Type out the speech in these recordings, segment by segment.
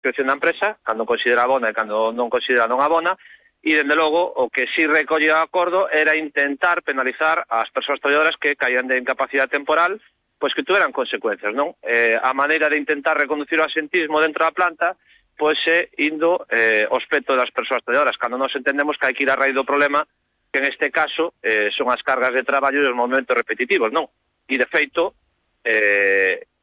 creación da empresa, cando considera abona e cando non considera non abona, e, dende logo, o que si recolle o acordo era intentar penalizar as persoas traballadoras que caían de incapacidade temporal, pois que tuveran consecuencias, non? A maneira de intentar reconducir o asentismo dentro da planta, pois é indo ao aspecto das persoas traballadoras, cando nos entendemos que hai que ir a raíz do problema, que en este caso son as cargas de traballo e os momentos repetitivos, non? E, de feito,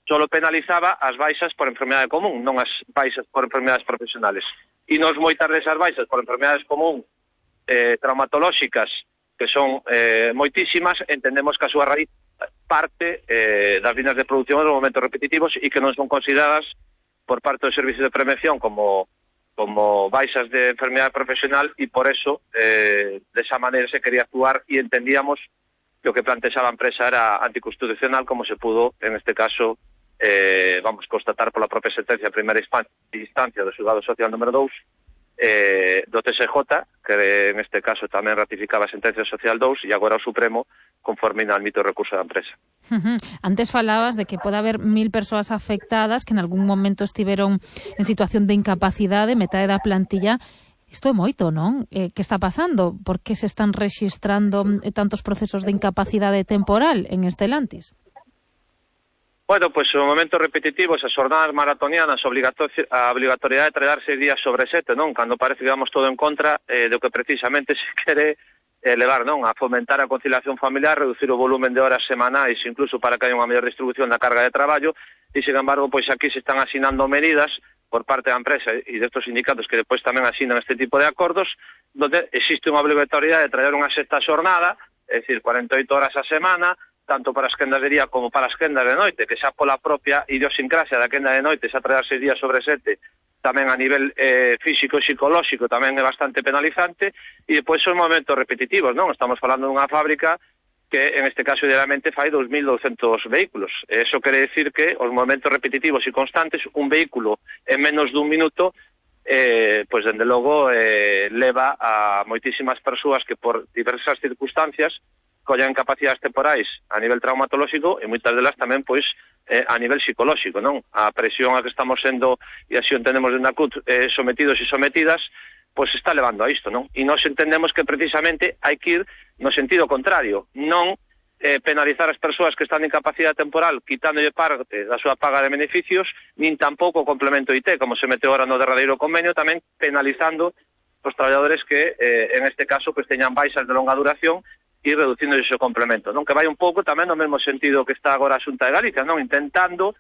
solo penalizaba as baixas por enfermidade común, non as baixas por enfermidades profesionales. E nos moitas desas baixas por enfermidades común traumatolóxicas, que son moitísimas, entendemos que a súa raíz parte das líneas de produción dos momentos repetitivos e que non son consideradas por parte do Servicio de Prevención como baixas de enfermedade profesional, e por eso desa maneira se quería actuar, e entendíamos que o que plantexaba a empresa era anticonstitucional, como se pudo en este caso constatar pola propia sentencia de primeira instancia do Xulgado Social número 2 do TSJ, que en este caso tamén ratificaba a sentencia social 2, e agora o Supremo conforme admite o recurso da empresa. Antes falabas de que pode haber 1000 persoas afectadas que en algún momento estiveron en situación de incapacidade, metade da plantilla. Isto é moito, non? Que está pasando? Por que se están rexistrando tantos procesos de incapacidade temporal en Stellantis? Bueno, pois os momentos repetitivos, as jornadas maratonianas, a obligatoriedade de traballar 6 días sobre 7, non? Cando parece que vamos todo en contra do que precisamente se quere levar, non? A fomentar a conciliación familiar, reducir o volumen de horas semanais, incluso para que haya unha mellor distribución da carga de traballo, e, sin embargo, pois aquí se están asinando medidas por parte da empresa e destos sindicatos que depois tamén asinan este tipo de acordos, donde existe unha obligatoriedade de traballar unha sexta xornada, é dicir, 48 horas a semana, tanto para as quendas de día como para as quendas de noite, que xa pola propia idiosincrasia da quenda de noite, xa traballar 6 días sobre 7, tamén a nivel físico e psicolóxico tamén é bastante penalizante, e depois son momentos repetitivos, non? Estamos falando dunha fábrica que en este caso idealmente fai 2.200 vehículos. Eso quere decir que os momentos repetitivos e constantes, un vehículo en menos dun minuto, pois dende logo leva a moitísimas persoas que por diversas circunstancias collan capacidades temporais a nivel traumatolóxico e moitas delas tamén pois a nivel psicolóxico, non? A presión a que estamos sendo, e así o entendemos de NACUT, sometidos e sometidas, pois está levando a isto, non? E nós entendemos que precisamente hai que ir no sentido contrario, non penalizar as persoas que están en incapacidade temporal quitándolle parte da súa paga de beneficios, nin tampouco o complemento IT, como se meteu ahora no derradeiro convenio, tamén penalizando os traballadores que en este caso pues teñan baixas de longa duración e reducindo ese complemento, non? Que vai un pouco tamén no mesmo sentido que está agora a Xunta de Galicia, non? Intentando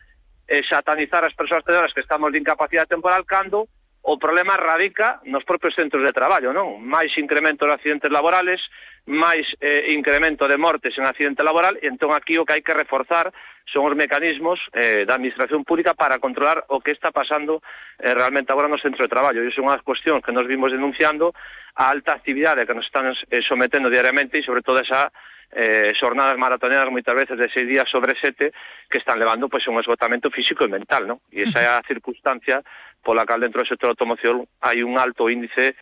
satanizar as persoas traballadoras que estamos de incapacidade temporal cando o problema radica nos propios centros de traballo, non? Máis incremento de accidentes laborales, máis incremento de mortes en accidente laboral, e entón aquí o que hai que reforzar son os mecanismos da administración pública para controlar o que está pasando realmente agora no centro de traballo. E iso é unha cuestión que nos vimos denunciando, a alta actividade que nos están sometendo diariamente, e sobre todo esa xornadas maratonianas moitas veces de 6 días sobre 7 que están levando pois un esgotamento físico e mental, non? E esa é a circunstancia pola cal dentro do sector de automoción hai un alto índice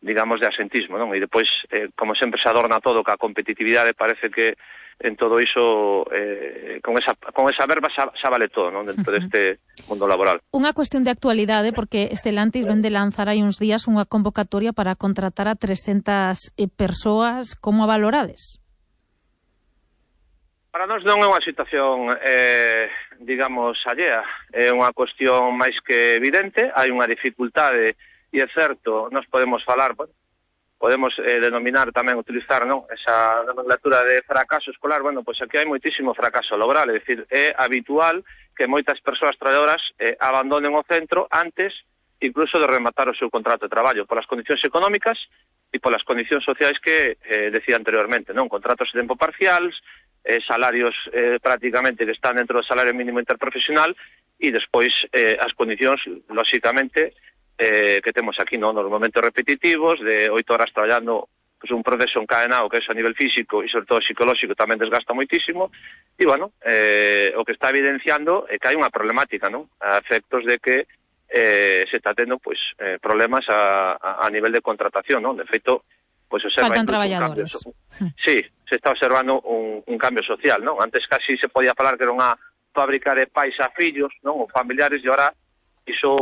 digamos de asentismo, non? E depois, como sempre se adorna todo que a competitividade, parece que en todo iso con esa verba xa vale todo, non? Dentro deste mundo laboral. Unha cuestión de actualidade, porque Stellantis ven de lanzar hai uns días unha convocatoria para contratar a 300 persoas. Como a valorades? Para nós non é unha situación, digamos, allea. É unha cuestión máis que evidente. Hai unha dificultade, e é certo, nós podemos falar, podemos denominar tamén, utilizar, non, esa nomenclatura de fracaso escolar. Bueno, pois aquí hai moitísimo fracaso laboral, é dicir, é habitual que moitas persoas traballadoras abandonen o centro antes incluso de rematar o seu contrato de traballo, polas condicións económicas e polas condicións sociais que decía anteriormente, non? Contratos de tempo parciales, salarios prácticamente que están dentro do salario mínimo interprofesional, e despois as condicións, lóxicamente, que temos aquí, non? Nos momentos repetitivos de 8 horas traballando, pues un proceso encadenado que é a nivel físico e sobre todo psicolóxico tamén desgasta moitísimo, e bueno, o que está evidenciando é que hai unha problemática, non? A efectos de que se está tendo pues problemas a nivel de contratación, non? De feito, pues observa faltan traballadores. Sí, se está observando un cambio social, non? Antes casi se podía falar que era unha fábrica de pais a fillos, non? Ou familiares, e ahora iso